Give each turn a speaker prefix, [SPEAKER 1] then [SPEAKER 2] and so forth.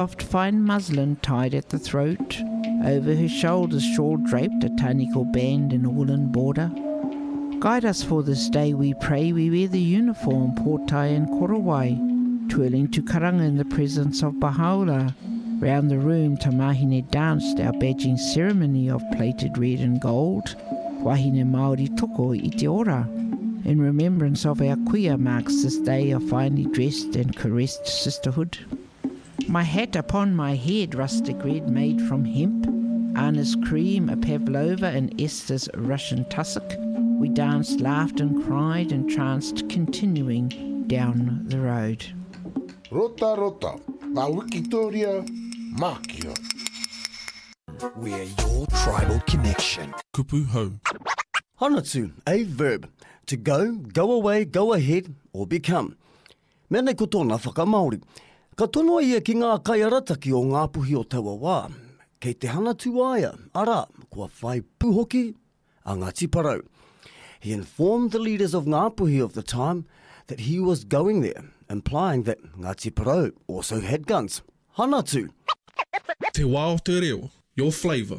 [SPEAKER 1] Soft fine muslin tied at the throat, over her shoulders shawl draped a tāniko band in a woolen border. Guide us for this day, we pray, we wear the uniform, pōtae and korowai, twirling to karanga in the presence of Baha'u'llah. Round the room, tamahine danced our badging ceremony of plated red and gold. Wahine Māori toko i te ora. In remembrance of our kuia marks this day of finely dressed and caressed sisterhood. My hat upon my head, rustic red made from hemp, Anna's cream, a pavlova, and Esther's Russian tussock. We danced, laughed, and cried, entranced, continuing down the road.
[SPEAKER 2] Rota rota, ngā wikitoria, mākia.
[SPEAKER 3] We're your tribal connection.
[SPEAKER 4] Kupu hou.
[SPEAKER 5] Hanatu, a verb. To go, go away, go ahead, or become. Mea nei ko tōna whakamāori. Ka tonoa ia ki ngā kaiarataki o Ngāpuhi o taua wā, kei te hanatu a ia, arā, kua whai pū hoki a Ngāti Porou. He informed the leaders of Ngāpuhi of the time that he was going there, implying that Ngāti Porou also had guns. Hanatu!
[SPEAKER 4] Te wā o te reo, your flavour.